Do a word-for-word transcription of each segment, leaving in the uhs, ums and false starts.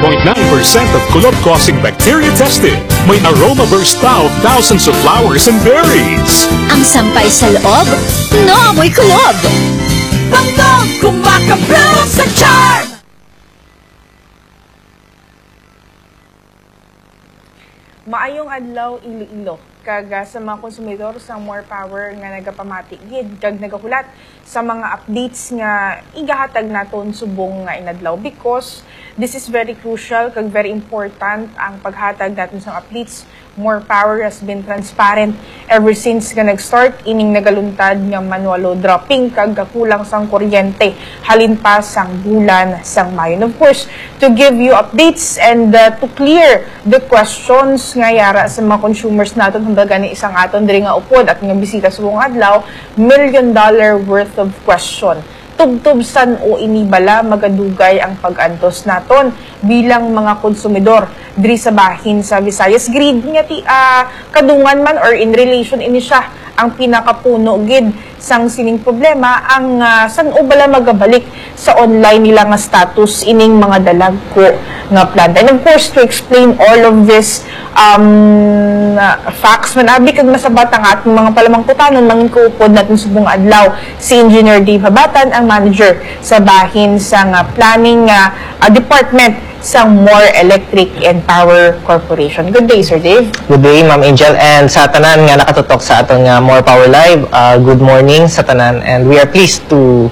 Point nine percent of kulob-causing bacteria tested. May aroma burst pa of thousands of flowers and berries. Ang sampay sa loob, naamoy kulob. Bangkog, kumakabro sa charm! Maayong adlaw, Iloilo, kag, ah, sa mga konsumidor sang More Power nga nagapamati gid kag nagahulat sa mga updates nga igahatag naton subong nga inadlaw, because this is very crucial kag very important ang paghatag naton sang updates. More Power has been transparent ever since nga nag-start ining nagaluntad nga manual load dropping kag kakulang sang kuryente halin pa sang bulan sang Mayo. And of course, to give you updates and, uh, to clear the questions nga yara sa mga consumers naton, hambal gani sang aton diri nga upod at nga bisita subong adlaw, million dollar worth of question. Tubtob san-o ini bala magadugay ang pag-antos naton bilang mga konsumidor diri sa bahin sa Visayas Grid nga ti, ah, kadungan man or in relation ini siya ang pinakapuno gid sang sining problema, ang, ah, san-o bala magabalik sa online nila nga status ining mga dalagko nga planta. And of course, to explain all of this, um, facts man abi kag masabat ang ating mga palamangkutanon, mangin ko upod natin subong adlaw si Engineer Dave Habatan, ang manager sa bahin sa nga planning nga, ah, department sa More Electric and Power Corporation. Good day, Sir Dave. Good day, Ma'am Angel, and sa tanan nga nakatutok sa aton nga More Power Live, uh, good morning sa tanan, and we are pleased to,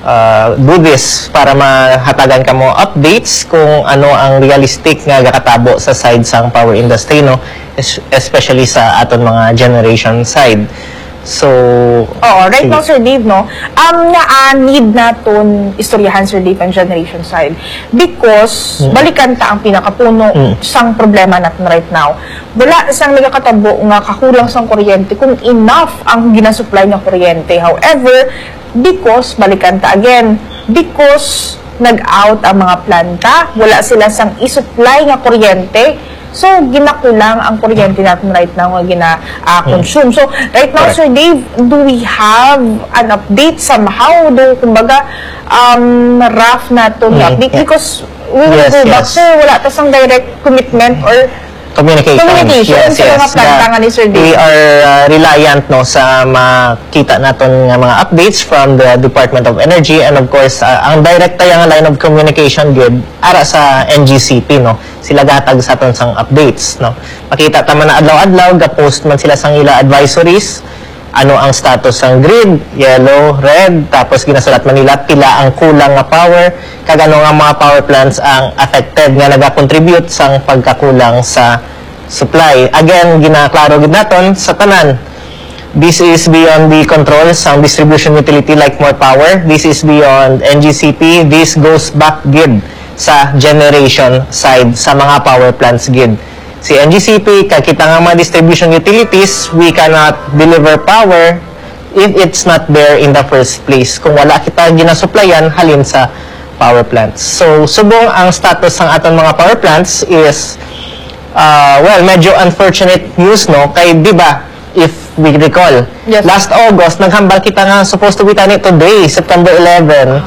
uh, do this para mahatagan kamo updates kung ano ang realistic nga gakatabo sa side sang power industry, no, es-, especially sa aton mga generation side. So, Oo, right sige. Now, Sir Dave, no, um, nga, ah, need naton istoryahan, Sir Dave, ang generation side. Because, Mm. balikan ta ang pinakapuno Mm. sang problema natin right now. Wala sang nagakatabo nga kakulang sang kuryente kung enough ang ginasupply nga kuryente. However, because, balikan ta again, because nag-out ang mga planta, wala sila sang isupply nga kuryente, so ginakulang ang kuryente natin right now nga gina, ah, Mm. consume. So, right now, Correct. Sir Dave, do we have an update somehow? Do, kumbaga, um, rough naton nga Mm, update? yeah. Because we will Yes, go back, yes. Sir, wala ta sang direct commitment or Communication. communication Yes, sa mga yes. planta The, nga ni Sir Dave. we are, uh, reliant, no, sa makita naton nga mga updates from the Department of Energy, and of course, uh, ang direct tayo nga line of communication gid ara sa N G C P, no. Sila gahatag sa aton sang updates, no. Makita ta man na adlaw-adlaw, ga-post man sila sang ila advisories, ano ang status sang grid, yellow, red, tapos ginasulat man nila pila ang kulang nga power, kag ano nga mga power plants ang affected nga nagakontribute sang pagkakulang sa supply. Again, ginaklaro gid naton sa tanan. This is beyond the control sang distribution utility like More Power. This is beyond N G C P. This goes back gid sa generation side sa mga power plants gid. Si N G C P, kag kita nga mga distribution utilities, we cannot deliver power if it's not there in the first place. Kung wala kita ginasuplayan halin sa power plants. So, subong ang status sang aton mga power plants is, uh, well, medyo unfortunate news, no? Kay, di ba, if we recall, Yes. last August, naghambal kita nga supposed to be tani today, September eleven,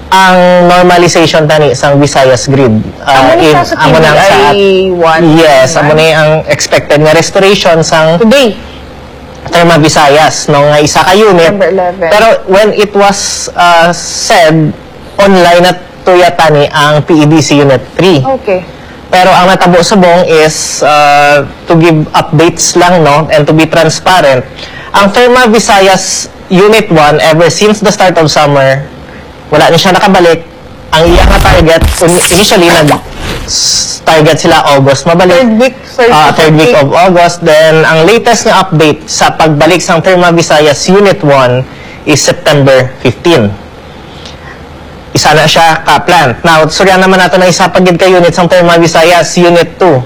ang normalization tani sang Visayas grid. Uh, Amo na in, siya sa amo na ang sa T V I one, yes, right? Amo na ang expected nga restoration sang Today. Therma Visayas, no, nga isa ka unit. September eleven. Pero when it was, uh, said, online na tuya tani ang P E D C Unit three. Okay. Pero ang natabo subong is, uh, to give updates lang, no, and to be transparent. Ang Therma Visayas Unit one, ever since the start of summer, wala na siya nakabalik. Ang iya nga target, un-, initially, nag-, s-, target sila August mabalik. Third week, third Ah, week third week of of August. Then, ang latest nga update sa pagbalik sang Therma Visayas Unit one is September fifteen. Isa na siya ka plant. Now, suryan naman nato na isa pa gid ka unit sang Therma Visayas, Unit two.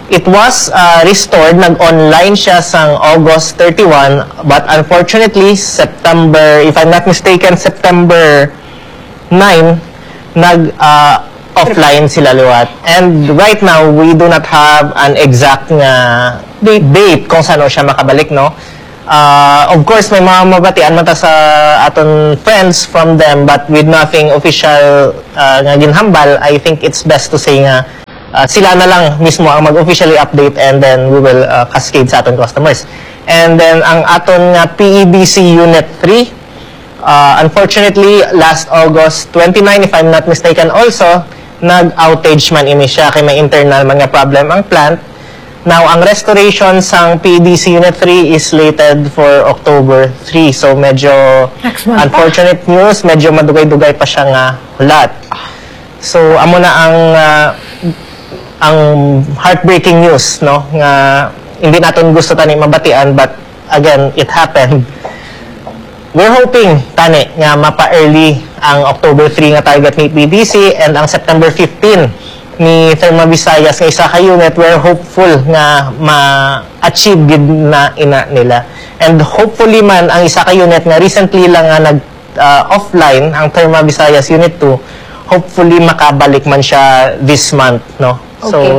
It was, uh, restored, nag-online siya sang August thirty-one, but unfortunately, September, if I'm not mistaken, September nine, nag, uh, offline sila liwat. And right now, we do not have an exact nga Date. date kung sano siya makabalik, no? Ah, of course, may mga mabatian man ta sa aton friends from them, but with nothing official, ah, nga ginhambal, I think it's best to say nga ah, sila na lang mismo ang mag-officially update, and then we will, ah, cascade sa aton customers. And then ang aton nga P E D C Unit three, ah, unfortunately, last August twenty-nine, if I'm not mistaken, also nag-outage man ini siya kay may internal man nga problem ang plant. Now, ang restoration sang P E D C Unit three is slated for October three. So, medyo Next month pa. Unfortunate news, medyo madugay-dugay pa siya nga hulat. So, amo na ang, ah, ang heartbreaking news, no, nga hindi naton gusto tani mabatian, but again, it happened. We're hoping tani nga mapa-early ang October three nga target ni P E D C and ang September fifteen ni Therma Visayas nga isa ka unit. We're hopeful nga ma-achieve gid na ina nila. And hopefully man, ang isa ka unit nga recently lang nga nag, ah, offline, ang Therma Visayas Unit two, hopefully makabalik man siya this month, no? So, Okay.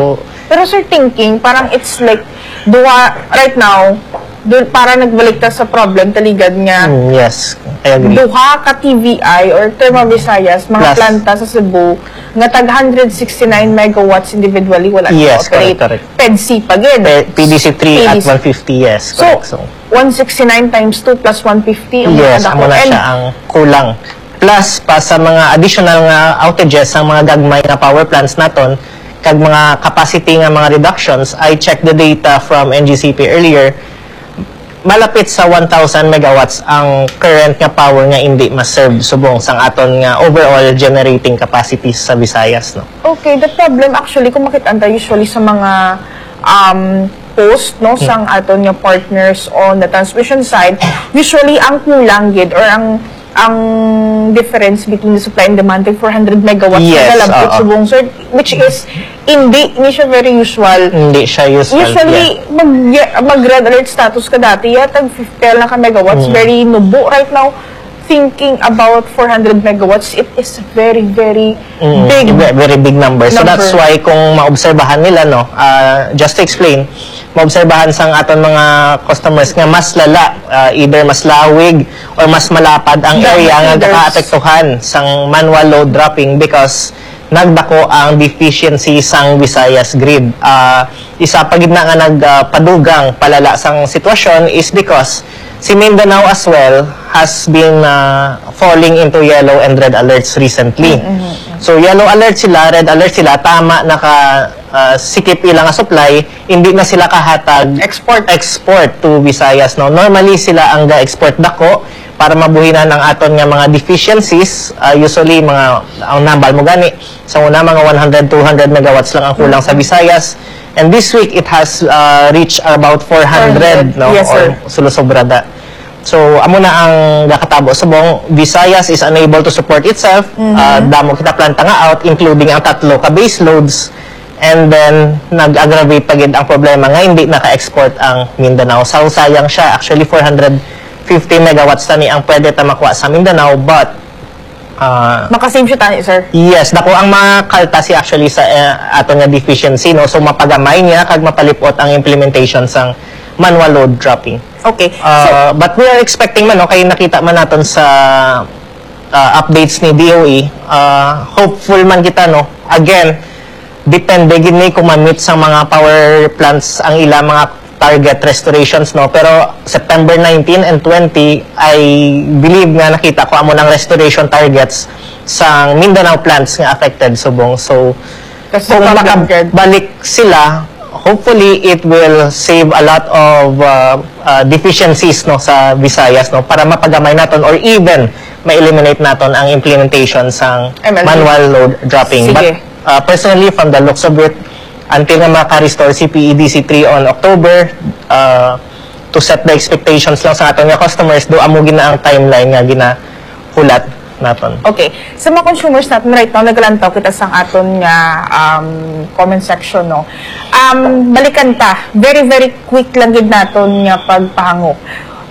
Pero sir, thinking, parang it's like, duha, right now, du- para nagbalik ta sa problem, taligad nga, mm, yes, I agree. duha ka T V I or Therma Visayas, mga Plus. planta sa Cebu, nga tag one hundred sixty-nine megawatts individually, wala Yes, na-operate. Correct, correct. P E D C pa gid. P- P D C three at P D C. One fifty, yes, So, correct. So, one sixty-nine times two plus one fifty ang yes, mga dako. Amo na And siya ang kulang. Plus, pa sa mga additional nga outages sa mga gagmay nga power plants naton, kag mga capacity nga mga reductions, I checked the data from N G C P earlier, malapit sa one thousand megawatts ang current nga power nga hindi ma-serve subong sang aton nga overall generating capacity sa Visayas, no? Okay, the problem actually, kung makita ta usually sa mga um, post, no, sang aton nga partners on the transmission side, usually ang kulang gid or ang ang difference between the supply and demand, tag four hundred megawatts Yes, na galabot oo. Subong, sir, which is hindi ni siya very usual. Hindi siya usual. Usually, Yeah. mag, mag red alert status ka dati, ya, tag fifty lang ka megawatts, Mm. very nubo. Right now, thinking about four hundred megawatts, it is very, very Mm, big. ve- very big number. So number. That's why kung maobserbahan nila, no, ah, just to explain, maobserbahan sang aton mga customers nga mas lala, ah, either mas lawig or mas malapad ang Damo area nga feeders. nakaapektuhan sang manual load dropping because nagdako ang deficiency sang Visayas grid. Ah, isa pa gid na nga nagpadugang palala sang sitwasyon is because si Mindanao as well has been, ah, falling into yellow and red alerts recently. So yellow alert sila, red alert sila, tama naka, ah, sikip ila nga supply, hindi na sila kahatag Export. export to Visayas, no? Normally sila ang ga-export dako para mabuhinan ang aton nga mga deficiencies. Ah, usually mga ang nambal mo gani sa una mga one hundred, two hundred megawatts lang ang kulang sa Visayas. And this week it has, ah, reached about four hundred, no? Yes, sir. Or sulusobra da. So, amo na ang gakatabo subong, Visayas is unable to support itself. Ah, damo kita planta nga out, including ang tatlo ka base loads. And then, nag-aggravate pa gid ang problema nga hindi naka-export ang Mindanao. So, sayang siya. Actually, four hundred fifty megawatts tani ang pwede ta makuha sa Mindanao, but, ah, Makasave siya tani, sir. Yes, dako ang makalta si actually sa, eh, aton nga deficiency, no? So, mapagamay niya kag mapalipot ang implementation sang manual load dropping. Okay. Uh, but we are expecting man, no, kay nakita man naton sa, uh, updates ni D O E, uh, hopeful man kita, no. Again, depende gid ni kung ma-meet sang mga power plants ang ila mga target restorations, no. Pero September nineteen and twenty, I believe nga nakita ko amo nang restoration targets sang Mindanao plants nga affected subong. So, That's the kung problem, Gerd. Makabalik sila, hopefully it will save a lot of, uh, uh, deficiencies, no, sa Visayas, no, para mapagamay naton or even ma-eliminate naton ang implementation sang M L D. Manual load dropping. Sige. But, uh, personally, from the looks of it, until nga maka-restore si P E D C three on October, uh, to set the expectations lang sa aton nga customers, do amo gina ang timeline nga ginahulat naton. Okay. Sa mga consumers natin right now, nagalantaw kita sa aton nga, um, comment section, no? Um, balikan ta. Very, very quick lang gid naton nga pagpahangop.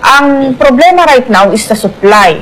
Ang problema right now is the supply.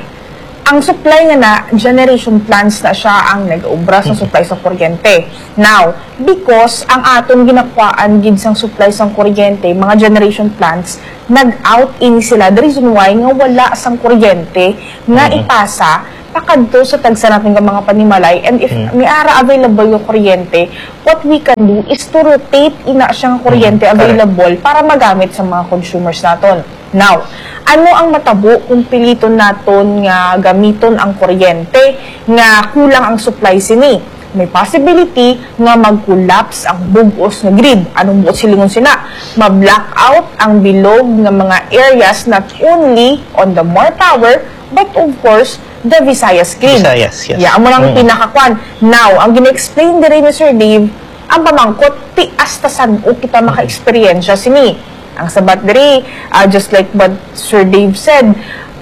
Ang supply nga na, generation plants na siya ang nag-ubra sa supply sa kuryente. Now, because ang aton ginakuhaan gid sang supply sang kuryente, mga generation plants, nag-out ini sila. The reason why nga wala sang kuryente nga ipasa pakadto sa tagsa natin nga mga panimalay, and if may ara available nga kuryente, what we can do is to rotate ina siya nga kuryente available para magamit sa mga consumers naton. Now, ano ang matabo kung piliton naton nga gamiton ang kuryente nga kulang ang supply sini? May possibility nga mag-collapse ang bug-os nga grid. Anong buot silingon sina? Ma-blackout ang bilog nga mga areas, not only on the More Power, but of course, the Visayas grid. Visayas, yes. Yeah, amo nang pinakakwan. Now, ang gina-explain diri ni Sir Dave, ang pamangkot, ti hasta san-o kita maka-eksperyensya sini. Ang sabat diri, ah, just like what Sir Dave said,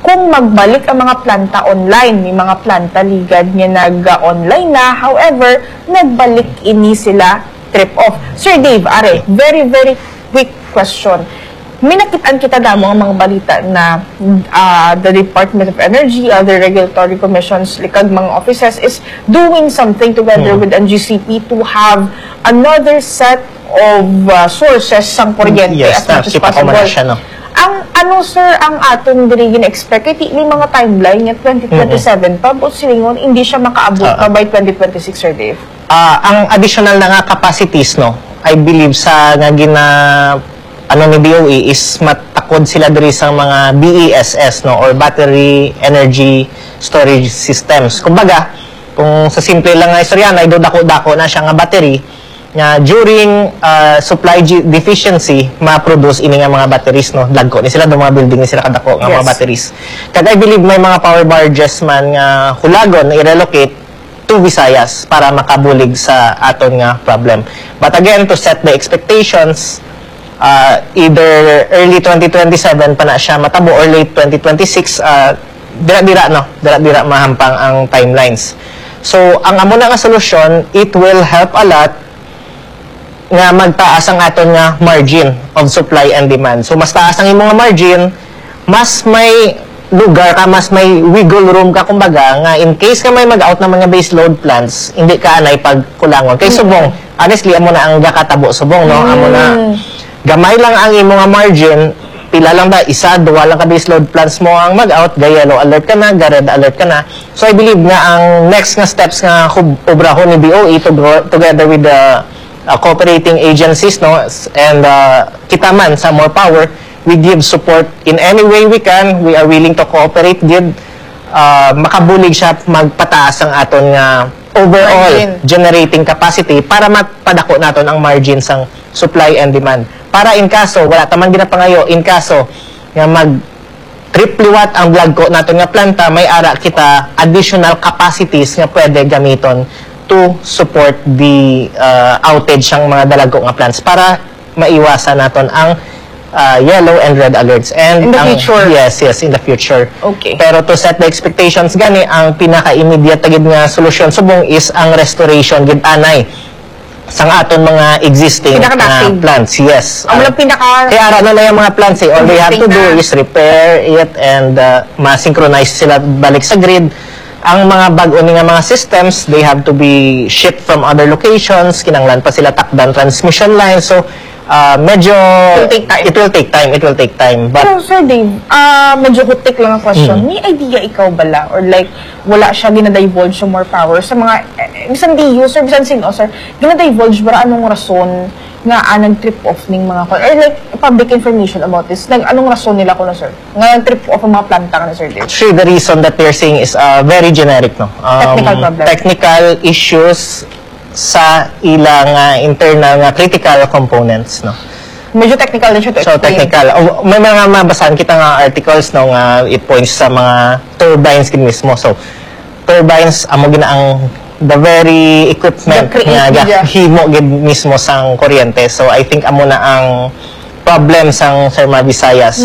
kung magbalik ang mga planta online, may mga planta ligad nga nag-online na, however, nagbalik ini sila trip off. Sir Dave, are, very, very quick question. May nakit-an kita damo ang mga balita na, ah, the Department of Energy, other regulatory commissions, likag mga offices is doing something together with N G C P to have another set of, ah, sources sang kuryente as much as possible. Ang ano, sir, ang aton diri gina-expect? Kay ti-, may mga timeline nga twenty twenty-seven pa, but silingon, hindi siya makaabot pa by twenty twenty-six, Sir Dave. Ah, ang additional na nga capacities, no, I believe sa nga gina-, ano ni D O E is matakod sila diri sa mga B E S S, no, or battery energy storage systems. Kumbaga, kung sa simple lang nga istorya, na do dako-dako na siya nga battery, nga during, ah, supply gi-, deficiency, ma-produce ini nga mga batteries, no? Dagko ni sila, do mga building ni sila kadako nga mga batteries. Kag I believe may mga power barges man nga hulagon na i-relocate to Visayas para makabulig sa aton nga problem. But again, to set the expectations, ah, either early twenty twenty-seven pa na siya matabo or late twenty twenty-six, ah, dira-dira, no? Dira-dira mahampang ang timelines. So, ang amo na nga solusyon, it will help a lot nga magtaas ang aton nga margin of supply and demand. So, mas taas ang imong nga margin, mas may lugar ka, mas may wiggle room ka, kumbaga, nga in case ka may mag-out naman nga base load plants, hindi ka anay pagkulangon. Kay subong, honestly, amo na ang gakatabo subong, no? Amo na, gamay lang ang imo nga margin, pila lang ba, isa, duwa lang ka base load plants mo ang mag-out, ga yellow alert ka na, ga red alert ka na. So, I believe nga ang next nga steps nga hub-, obrahon ni D O E to grow, together with the, uh, cooperating agencies, no, s-, and, uh, kita man sa More Power, we give support in any way we can. We are willing to cooperate gid. Uh, makabulig siya magpataas ang aton nga overall generating capacity para mapadako naton ang margin sang supply and demand. Para in kaso, wala ta man ginapangayo, in kaso nga mag trip liwat ang blagko naton nga planta, may ara kita additional capacities nga pwede gamiton to support the, uh, outage sang mga dalagko nga plants para maiwasan naton ang, uh, yellow and red alerts. And in the future. Yes, yes, in the future. Okay. Pero to set the expectations gani, ang pinaka-immediate gid nga solusyon subong is ang restoration gid anay sang aton mga existing, uh, plants. Yes. Amo lang pinaka- Kaya ara na lang ang mga plants eh. All they have to do is repair it and, uh, ma-synchronize sila balik sa grid. Ang mga bag-o ni nga mga systems, they have to be shipped from other locations. Kinahanglan pa sila takdan transmission lines. So, uh, medyo it will take time. It will take time. It will take time. But pero, Sir Dave, ah, medyo hutik lang ang question. May idea ikaw bala? Or like, wala siya gina-divulge sa More Power sa mga, eh, bisan D U, sir, bisan sino, sir, gina-divulge ba anong rason nga, ah, nag-trip off ning mga kon-, or like, public information about this? Nag-, anong rason nila kuno, sir, nga nag-trip off ang mga planta ka na, Sir Dave? Actually, the reason that they're saying is, uh, very generic, no? Um, technical problem. Technical issues sa ilang, uh, internal nga critical components, no? Medyo technical din siya to explain. So, technical. O, may mga mabasahan kita nga articles, no, nga it points sa mga turbines gid mismo. So, turbines, amo gina ang the very equipment nga himo gid mismo sang kuryente. So, I think amo na ang problem sang Thermal Visayas.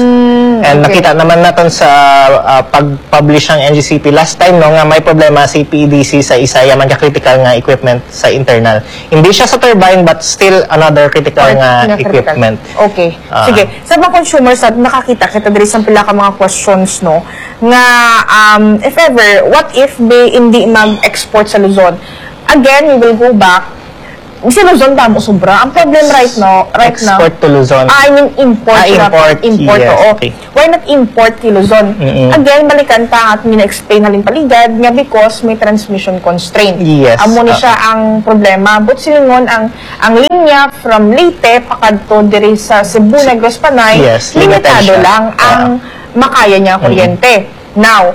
And nakita naman naton sa, ah, pag-publish ang N G C P last time, no, nga may problema si P E D C sa isa ya man ka critical nga equipment sa internal. Hindi siya sa turbine, but still another critical nga equipment. Okay. Ah. Sige. Sa mga consumers, sa nakakita kita diri sa pila ka mga questions, no, nga, um, if ever, what if they hindi mag-export sa Luzon? Again, we will go back. Sa Luzon, damo sobra. Ang problem right now, right now, Export to Luzon. Ah, I mean, import Ah, na. import. Import, Yes, oo. okay. Why not import kay Luzon? Mm-mm. Again, balikan ta ang ating gina-explain halin paligad nga because may transmission constraint. Yes, Amo ni oo. siya ang problema. But silingon, ang, ang linya from Leyte pakadto diri sa Cebu, Negros, Panay, Yes, limitado limited siya. lang ang Oo. makaya niya Mm-mm. kuryente. Now,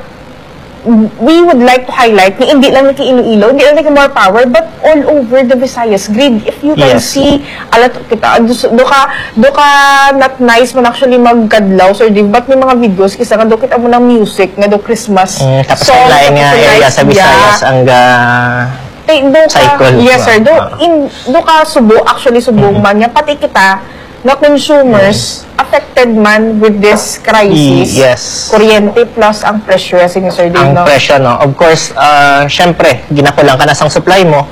we would like to highlight nga hindi lang kay Iloilo, hindi lang kay More Power, but all over the Visayas grid. If you can Yes. see, alat kita, do, do ka, do ka not nice man actually magkadlaw, Sir Dave, but may mga videos, kisa nga do kita mo ng music, nga do Christmas Mm, tapos song, ang lain nga tapos area lights, sa Visayas, yeah. ang ga-, Kay do ka, Cycle, yes, sir. Do, ah. in, do ka Subo, actually, Subo Mm. man nga, pati kita, nga consumers, Mm. affected man with this crisis. Y-, yes. Kuryente plus ang presyo, sini Sir Dave, Ang no? presyo, no? Of course, ah, syempre, ginakulang ka na sang supply mo.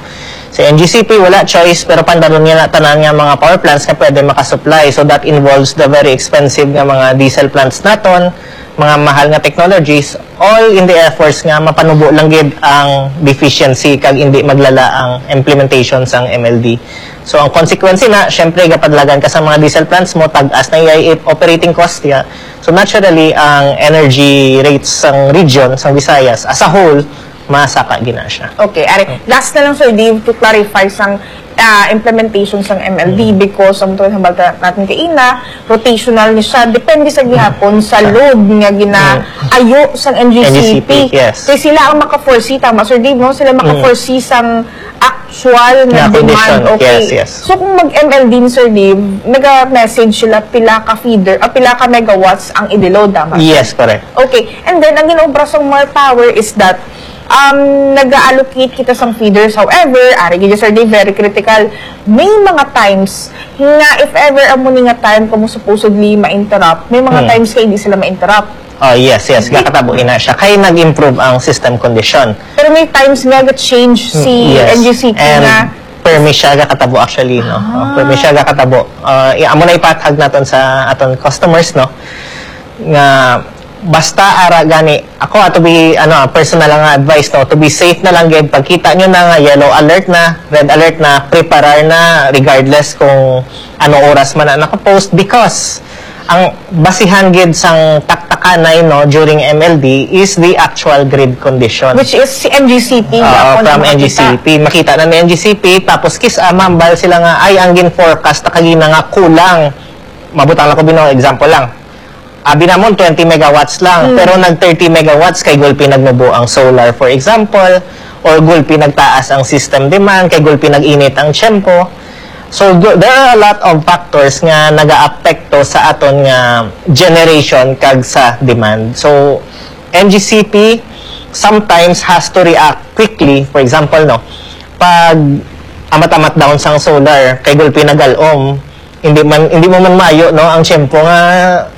Sa N G C P, wala choice, pero pandaron niya na tanan nga mga power plants nga pwede makasupply. So, that involves the very expensive nga mga diesel plants naton, mga mahal nga technologies, all in the efforts nga mapanubo lang gid ang deficiency kag hindi maglala ang implementation sang M L D. So, ang consequence na, syempre, gapadlagan ka sa mga diesel plants mo, tag-as na iyay operating cost niya. So, naturally, ang energy rates sang region, sang Visayas, as a whole, masaka gina siya. Okay, ari, last na lang, Sir Dave, to clarify sang, ah, implementation sang M L D, Mm. because ang tuod hambal ta-, natin kaina, rotational ni siya, depende sa gihapon sa Sa load nga ginaayo sang N G C P. N G C P, yes. Kay sila ang maka-foresee, tama, Sir Dave, no? Sila Mm. maka-foresee sang actual nga Nga condition, demand. Okay. yes, yes. So, kung mag-M L D ni Sir Dave, naga-message sila pila ka feeder, ah, pila ka megawatts ang i-deload, tama, sir? Yes, correct. Okay. And then, ang ginaobra sang More Power is that, um, nag-allocate kita sang feeders. However, ari gid, Sir Dave, very critical. May mga times nga if ever amo ni nga time kamo supposedly ma-interrupt, may mga Hmm. times kay hindi sila ma-interrupt. Oh, yes, yes. Di- Gakatabo ina siya. Kay nag-improve ang system condition. Pero may times nga ga-change si Mm, yes. N G C P And nga permi siya gakatabo actually, no? Ah. Oh, permi siya gakatabo. Ah, i-, amo na ipatag naton sa aton customers, no? Nga basta ara gani, ako, ah, to be, ano, ah, personal lang nga advice, no? To be safe na lang gid, pagkita nyo na nga yellow alert na, red alert na, preparar na, regardless kung ano oras man na nakapost, because ang basihan gid sang taktakanay, no, during M L D is the actual grid condition. Which is si N G C P, Oo, gihapon from ang makita. N G C P. Makita na ni N G C P, tapos kis-, ah, mambal sila nga, "Ay, ang gin-forecast ta kagina nga kulang." Mabutang lang ko, bino, example lang. Abi namon, twenty megawatts lang, Mm. pero nag thirty megawatts kay gulpi nagmubo ang solar, for example, or gulpi nagtaas ang system demand, kay gulpi nag-init ang tiyempo. So, th-, there are a lot of factors nga nagaapekto sa aton nga generation kag sa demand. So, N G C P sometimes has to react quickly. For example, no, pag amat-amat down sang solar, kay gulpi nagalom, hindi man, hindi mo man maayo, no, ang tiyempo nga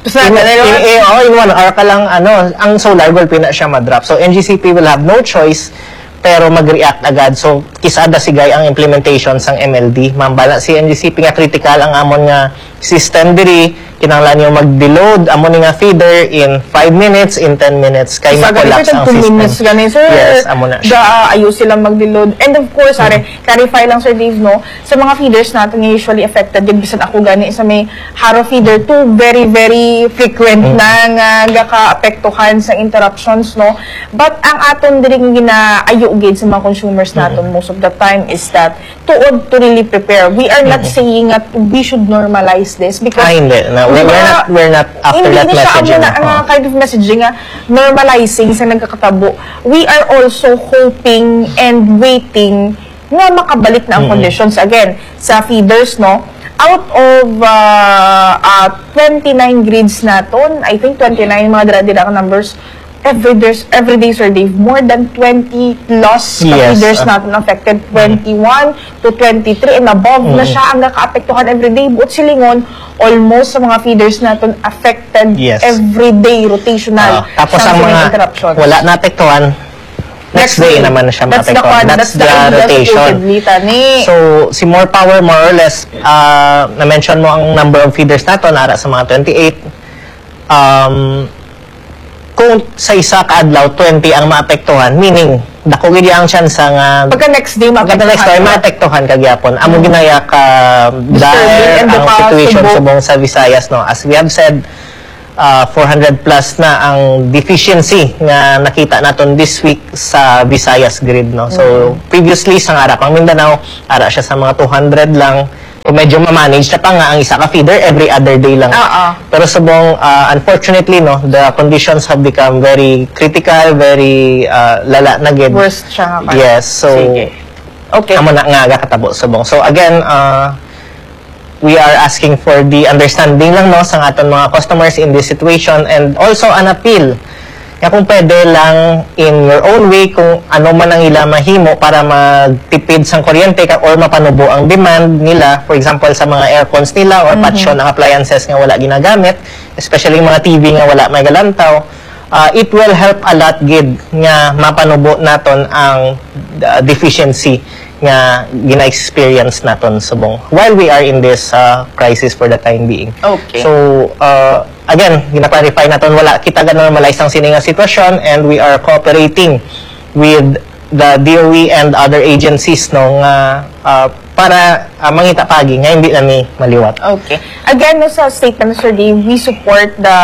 Tapos na, in, ano, in, eh, oh, in one hour ka lang, ano, ang solar gulpi na siya madrop. So, N G C P will have no choice pero mag-react agad. So, kisada sigay ang implementation sang M L D. Mambala si N G C P nga critical ang amon nga system diri. Kinahanglan niyo mag-deload amo ni nga feeder in five minutes, in ten minutes, kay Sa gani, ma-collapse ang two system. minutes gani, sir. Yes, amo na siya. Ga-, ayo sila mag-deload. And of course, are, Mm. clarify lang, Sir Dave, no? Sa mga feeders natin nga usually affected, yun, bisan ako gani sa may Jaro feeder, two very, very frequent Mm. na nga gaka-apektuhan sa interruptions, no? But ang aton diri nga ginaayo gid sa mga consumers Mm. naton most of the time is that tuod to really prepare. We are not Mm. saying that we should normalize this because Ah, hindi. Na, we're, we're Diba, not, we're not after hindi that na siya messaging. amo na nga Oh. kind of messaging nga normalizing sa nagkakatabo. We are also hoping and waiting nga makabalik na ang Mm-mm. conditions again sa feeders, no? Out of, uh, uh, twenty-nine grids naton, I think twenty-nine mga dira-dira ang numbers, every, there's, every day, Sir Dave, more than twenty plus ka Yes, feeders uh, naton affected, mm. twenty-one to twenty-three and above na Mm. siya ang nakaapektuhan every day. Buot silingon, almost sa mga feeders naton affected Yes. every day, rotational. Ah, tapos Siya ang sa mga mga interruptions. wala naapektuhan, next Next day day. naman siya That's the maapektuhan. con-, That's that's the the idea, rotation. supposedly, tani. So, si More Power, more or less, ah, na-mention mo ang number of feeders nato, nara sa mga twenty-eight. Um, kung sa isa ka adlaw, twenty ang maapektuhan, meaning, dako gid ang chance nga Pagka next day, pagka next day, maapektuhan. Maapektuhan kagihapon. Amo ginaya ka Disturbing dahil and ang baka situation subok. Subong sa Visayas, no. As we have said, uh, four hundred plus na ang deficiency nga nakita naton this week sa Visayas grid, no. So, previously sa ara pang Mindanao, ara siya sa mga two hundred lang. So, medyo ma-manage na pa nga ang isa ka feeder every other day lang. Oo. Pero subong, uh, unfortunately, no, the conditions have become very critical, very uh, lala na gid. Worse siya nga karon. Yes, so Sige. Okay. Amo na nga gakatabo subong. So again, uh, we are asking for the understanding lang, no, sa aton mga customers in this situation, and also an appeal nga kung pwede lang in your own way kung ano man ang ila mahimo para magtipid sang kuryente ka, or mapanubo ang demand nila, for example sa mga aircons nila or patyon ang appliances nga wala ginagamit, especially mga T V nga wala may galantaw. Uh, it will help a lot gid nga mapanubo naton ang uh, deficiency nga gina-experience naton subong while we are in this uh, crisis for the time being. Okay. So, uh, again, gina-clarify naton, wala kita ga-normalize ang sini nga sitwasyon, and we are cooperating with the D O E and other agencies, no, nga uh, para uh, mangita pagi nga hindi na ni maliwat. Okay. Again, no, sa statement ni Sir Dave, we support the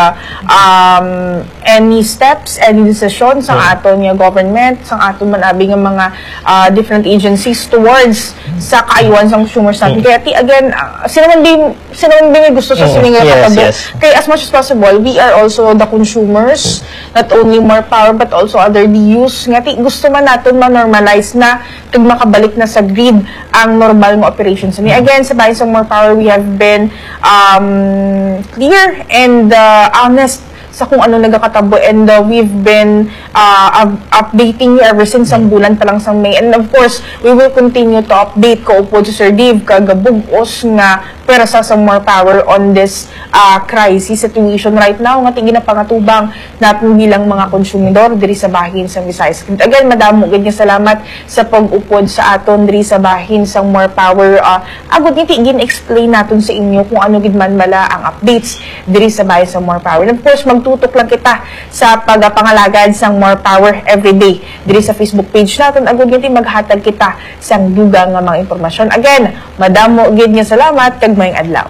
um, any steps, any decision sa aton nga government, sa aton man abi nga mga uh, different agencies towards sa kaayuhan sa consumers natin. Kaya ti again, uh, sino man din sino man din may gusto sa Mm, sini nga yes, katabo. Yes. Kaya as much as possible, we are also the consumers, not only More Power but also other D Us. Nga ti gusto man naton ma-normalize na kag makabalik na sa grid ang normal nga operations. Ni again, sa bahin sa More Power, we have been um, clear and uh, honest sa kung ano nagakatabo, and uh, we've been uh, up- updating you ever since ang bulan pa lang sa May, and of course we will continue to update ko upod si Sir Dave kag bug-os nga pwersa sa More Power on this uh, crisis situation right now nga ti ginapangatubang natin bilang mga konsumidor diri sa bahin sa Visayas. Again, madamo gid nga salamat sa pag-upod sa aton diri sa bahin sang More Power. Uh, agud nga ti gin-explain naton sa inyo kung ano gid man bala ang updates diri sa bahin sang More Power. And of course, magtutok lang kita sa pagapangalagad sang More Power everyday diri sa Facebook page naton. Agud nga ti maghatag kita sang dugang nga mga impormasyon. Again, madamo gid nga salamat kag maayong adlaw.